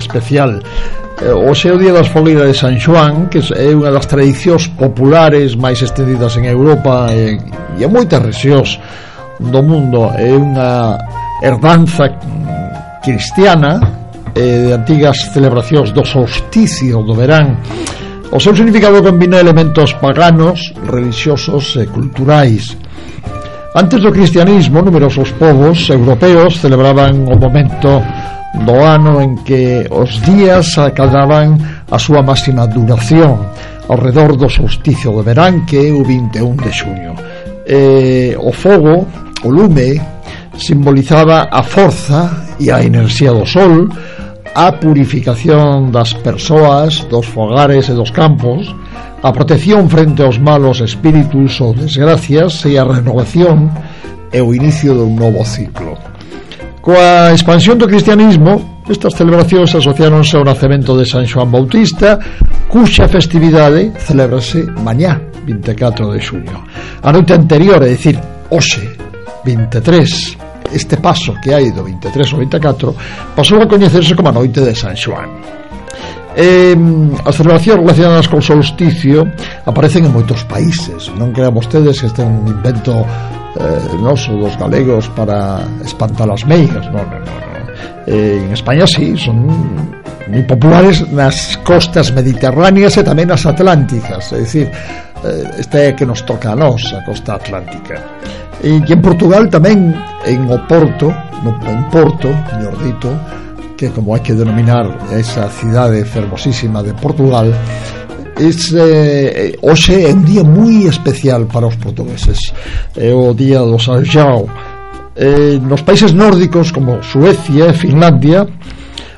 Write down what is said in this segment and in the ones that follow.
especial. Hoxe é o Día das Fogueiras de San Xoán, que é unha das tradicións populares máis estendidas en Europa e en moitas rexións do mundo. É unha herdanza cristiana de antigas celebracións do solsticio do verán. O seu significado combina elementos paganos, religiosos e culturais. Antes do cristianismo, numerosos povos europeos celebraban o momento do ano en que os días acababan a súa máxima duración ao redor do solsticio de verán, que é o 21 de xuño. O fogo, o lume, simbolizaba a forza e a enerxía do sol, a purificación das persoas, dos fogares e dos campos, a protección frente aos malos espíritus ou desgracias e a renovación e o inicio dun novo ciclo. Coa expansión do cristianismo, estas celebracións asociáronse ao nacemento de San Xoán Bautista, cuxa festividade celebrase mañá, 24 de xuño. A noite anterior, é dicir, hoxe, 23, este paso que hai do 23 ao 24 pasou a coñecerse como a noite de San Xoán. As celebracións relacionadas col solsticio aparecen en moitos países. Non crean vostedes que este é un invento noso dos galegos para espantar as meigas. Non. En España sí, son moi populares nas costas mediterráneas e tamén nas atlánticas. É dicir, este é que nos toca a nós, a costa atlántica. E en Portugal tamén, en Porto, mellor dito, que como hai que denominar esa cidade fermosísima de Portugal, hoxe é un día moi especial para os portugueses. É o día do San Xoán. Nos países nórdicos como Suecia e Finlandia,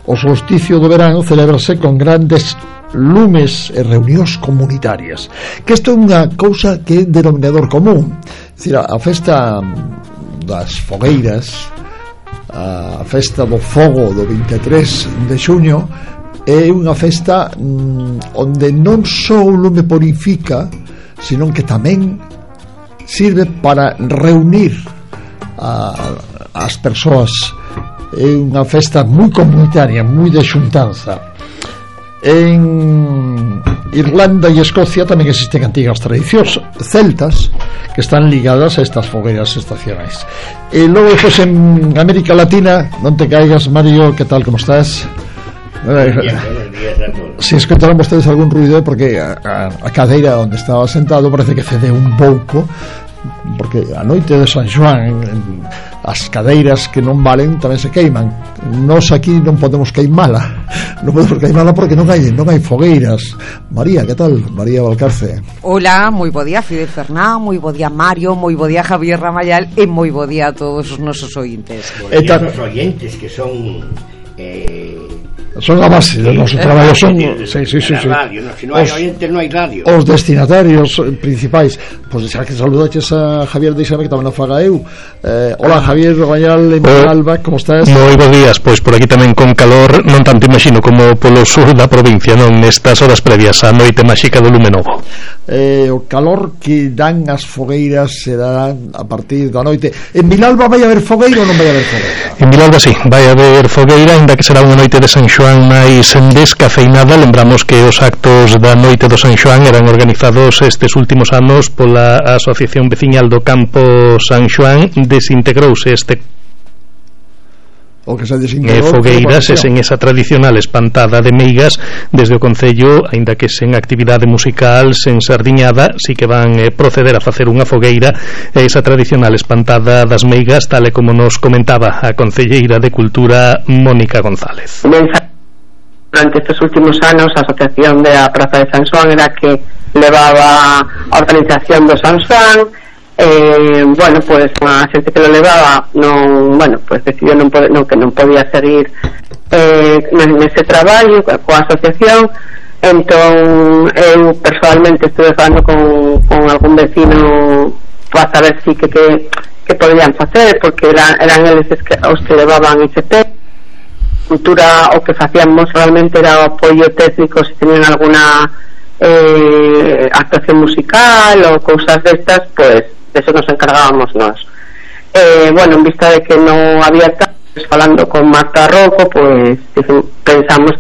o solsticio do verán celebrase con grandes lumes e reunións comunitarias, que isto é unha cousa que é denominador común. É dicir, a festa das fogueiras, a festa do fogo do 23 de xuño é unha festa onde non só o lume purifica, sino que tamén sirve para reunir as persoas. É unha festa moi comunitaria, moi de xuntanza. En Irlanda e Escocia tamén existen antigas tradicións celtas que están ligadas a estas fogueiras estacionais. E logo, pues, en América Latina, non te caigas, Mario, que tal, como estás? Se escoitaron vostedes algún ruido, porque a cadeira onde estaba sentado parece que cede un pouco, porque a noite de San Xoán as cadeiras que non valen tamén se queiman. Nós aquí non podemos queimala, porque non hai fogueiras. María, que tal? María Valcarce. Hola, moi bo día Fidel Fernán, moi bo día Mario, moi bo día Javier Ramayal e moi bo día a todos os nosos ointes. Os ointes que son a base do noso traballo, son radio, no, se non hai oyentes non hai radio. Os destinatarios principais. Pois xa que saludaches a Javier, deixame que tamén o faga eu. Hola Javier Ramayal, Alba, como estás? Moi bo días, pois por aquí tamén con calor, non tanto imagino como polo sur da provincia, non nestas horas previas á noite máxica do lume novo. O calor que dan as fogueiras se darán a partir da noite. En Vilalba vai haber fogueira ou non vai haber fogueira? En Vilalba sí, vai haber fogueira, ainda que será unha noite de San Xoán máis descafeinada. Lembramos que os actos da noite do San Xoán eran organizados estes últimos anos pola Asociación Veciñal do Campo San Xoán. Desintegrouse o que se desintegrou fogueiras e sen esa tradicional espantada de meigas desde o Concello, aínda que sen actividade musical, sen sardiñada, si que van proceder a facer unha fogueira e esa tradicional espantada das meigas, tal e como nos comentaba a concelleira de Cultura Mónica González. Durante estes últimos anos a Asociación de a Praza de San Xoán era que levaba a organización do San Xoán. Pues a xente que lo levaba decidiu que non podía seguir nese traballo coa asociación. Entón eu personalmente estuve falando con algún vecino para saber si que podían facer, porque eran eles os que levaban ese tema. Cultura, o que facíamos realmente era o apoio técnico se tenían alguna actuación musical ou cousas destas, pues de eso nos encargábamos nós. En vista de que non había falando con Marta Rocco, pues pensamos